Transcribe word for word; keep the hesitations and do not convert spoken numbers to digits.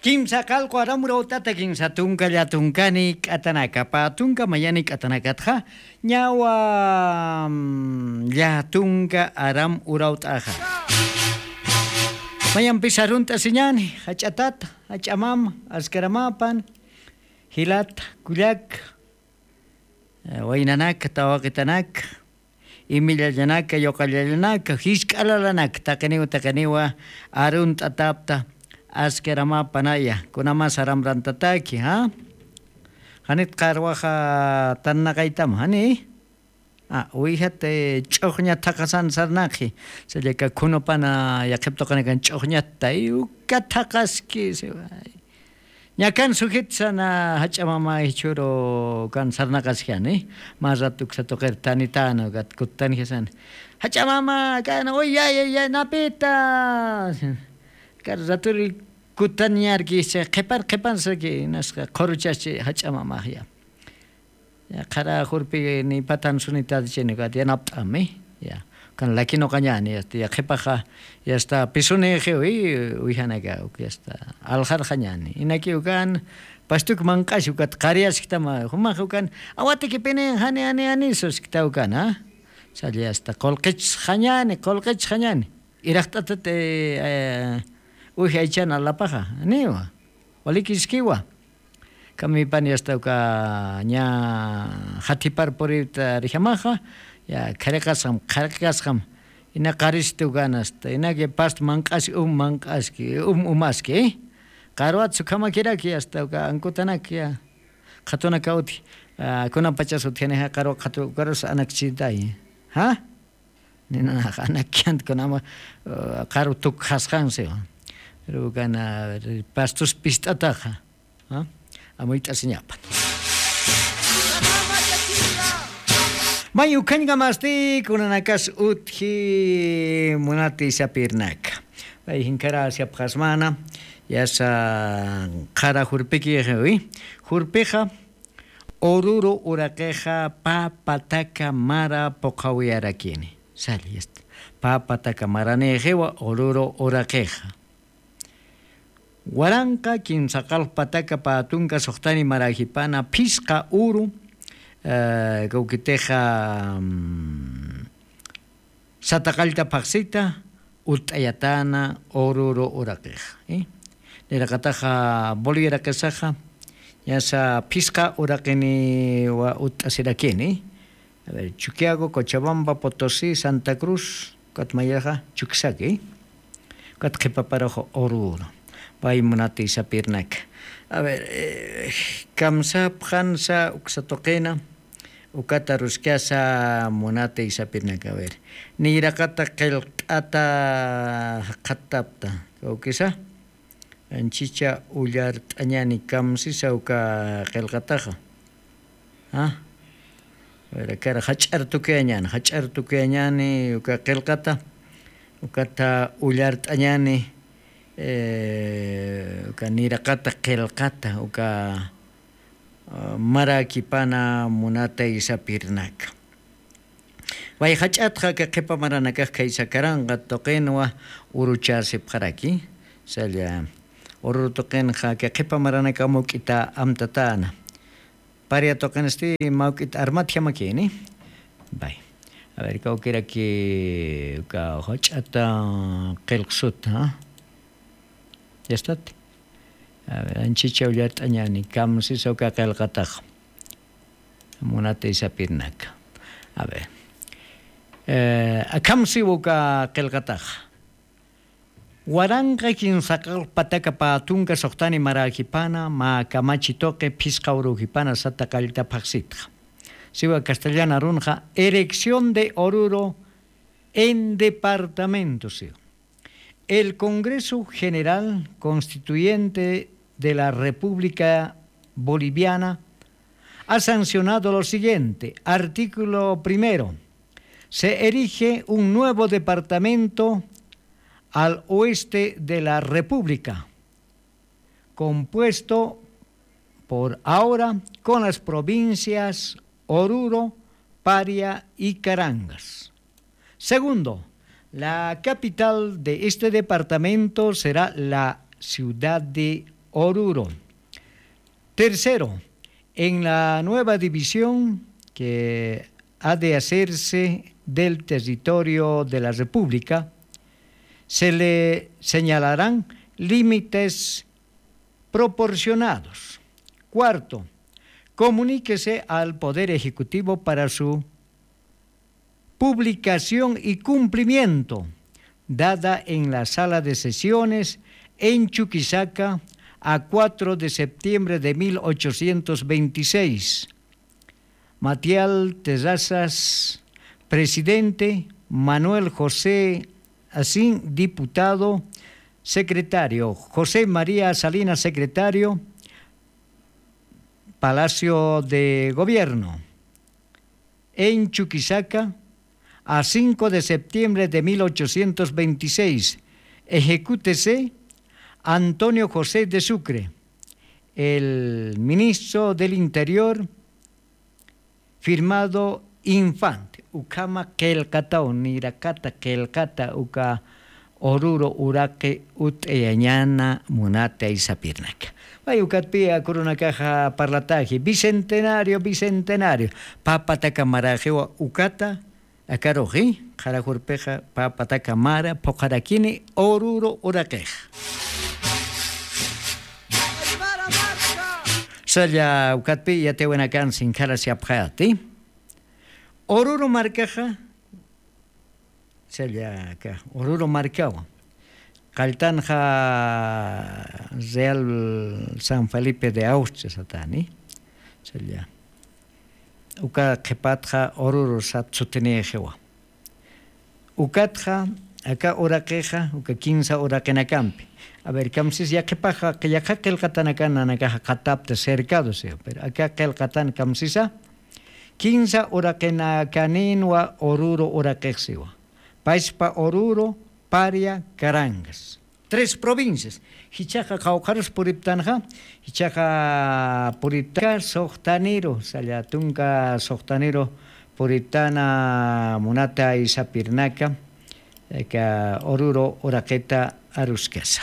Kimsa qallqu aram urawt'ata kinsa tunka llatunkani k'atanaka pä tunka mayani k'atanakatxa ñawa llatunka aram urawt'axa. Mayampis arunt'asiñani jach'atata jach'amama askaramäpan jilata kullaka waynanaka tawaqitanaka imillallanaka yuqallallanaka jisk'alalanaka taqiniw taqiniwa arunt'atapta askaramäpanaya kunamas aramrantataki ja janit qarwaxa tarnaqaytam jani wijat ch'uxñat thaqasan sarnaqi sallaka khunupana yaqhip tuqinakan ch'uxñattay uka thaqaski siway ñakan sujit sana jach'a mama jichhuru kan sarnaqasjani mä rat uksa tuqir tanitana ukat kuttanjasani jach'a mama kan uy yaya ya napita kar raturi kuttanñarkisi qhipar qhipar saki nasqa qhuruchaschi jach'a mamaxya qhara jurpi ni patan sunitatichini ukat yanapt'ami ya kan lakinuqañani yasta ya qhipaxa yasta pisunixiwi wijanaka uk yasta alxarxañani inaki ukan pastuk manq'asi ukat qariyaskitama jumax ukan awatikipini jani jani jani suskita ukana salla yasta qulqichxañani qulqichxañani iraqt'atat uj aychan alapaxa niwa walikiskiwa kamipan yasta uka ña jatipar purita rijamaxa ya khariqasxam khariqasxam ina qaristi ukan asta inaki past manq'aski um manq'aski um umaski qarwat sukhamakiraki asta uka ankutanak ya qhatunaka utji kunapachas utjanixa qarwa qhatu ukarus anakchitay ja ninanax anakiant kunama qarw tukxasqansi pero ukana pastus pist'ataxa amuyt'asiñapan may ukhañkamasti kunanakas utji munati sapirnaka pay jinkarasiapxasmana yasa qhara jurpikixiwi jurpixa ururu uraqixa pä pataka mara puqhawiyarakini sali pä pataka maranïxiwa ururu uraqixa waranqa kimsa qalq pataka pä tunka suxtani maräjipana phisqa uru kawkitixa sata qallta phaxsita utt'ayatäna ururu uraqixa niraqataxa bolivia uraqisaxa ñasa phisqa uraqiniwa utt'asirakini chuquiago cochabamba potosí santa cruz ukat mayaxa chuksaki ukat qhipaparux ururu pay munati sapirnaka a ver kamsapxansa uksa tuqina ukata ruskasa munati sapirnaka a ver niyraqata qillq'ata jaqhattapta kawkisa anchicha ullart'añani kamsisa uka qillqataxa kara jach'ar tukuyañani jach'ar tukuyañani uka qillqata ukata ullart'añani uka niraqata qillqata uka marakipana munatay sapirnaka wayjach'atxa aka qhipa maranakax khaysakaranqa tuqinwa uruchasipxaraki salla ururu tuqinxa aka qhipa maranaka mawk'ita amtatäna paria tuqinsti mawk'ita armatjamakini bay a ver kawkiraki uka jach'ata qillqsuta yastati anchicha ullart'añani kamsisa uka qillqatax munati sapirnaka a ver akhamsiwa uka qillqataxa waranqa kimsa qallq pataka pä tunka suxtani maräjipana mä kamachi tuqi phisqa urujipana sata qallta phaxsitxa siwa castellan arunxa erección de oruro en departamento siwa el Congreso General Constituyente de la República Boliviana ha sancionado lo siguiente. Artículo primero. Se erige un nuevo departamento al oeste de la República, compuesto por ahora con las provincias Oruro, Paria y Carangas. Segundo, la capital de este departamento será la ciudad de Oruro. Tercero, en la nueva división que ha de hacerse del territorio de la República, se le señalarán límites proporcionados. Cuarto, comuníquese al Poder Ejecutivo para su publicación y cumplimiento, dada en la sala de sesiones en Chuquisaca a cuatro de septiembre de mil ochocientos veintiséis. Matial Terrazas, presidente, Manuel José Asín, diputado, secretario, José María Salinas, secretario, Palacio de Gobierno, en Chuquisaca, a cinco de septiembre de mil ochocientos veintiséis. Ejecútese Antonio José de Sucre, el ministro del Interior, firmado Infante. Ukhama qillqataw, nirakata qillqata uka Oruro uraqi ut'ayañäna munatay sapirnaka. Pay ukatpï akurunakaxa parlataji, bicentenario, bicentenario. Pä pataka maraxiwa ukata, akaruxi, qhara jurpixa pä pataka mara phuqharakini Oruro uraqixa. Salla ukatpï yatiyawinakan sinkhara siapxayati. Oruro markaxa, salla aka Oruro markawa. Qalltanxa Real San Felipe de Austria satani. Salla. Uka qhipatxa Oruro sat sutinixiwa. Ukatxa aka uraqixa, uka kinsa uraqinakampi. A ver, kamsis yaqhipaxa, yaqha qillqatanakan nanakaxa qatapta cercado siwa, pero aka qillqatan kamsisa, kinsa uraqinakanïnwa Oruro uraqix siwa. Paspa, Oruro, Paria, Carangas. Tres provincias. Jichhaxa qawqharus puriptanxa, jichhaxa puriptanxa suxtaniru, salla tunka suxtaniru puriptana munatay sapirnaka, aka Oruro uraqita aruskasa.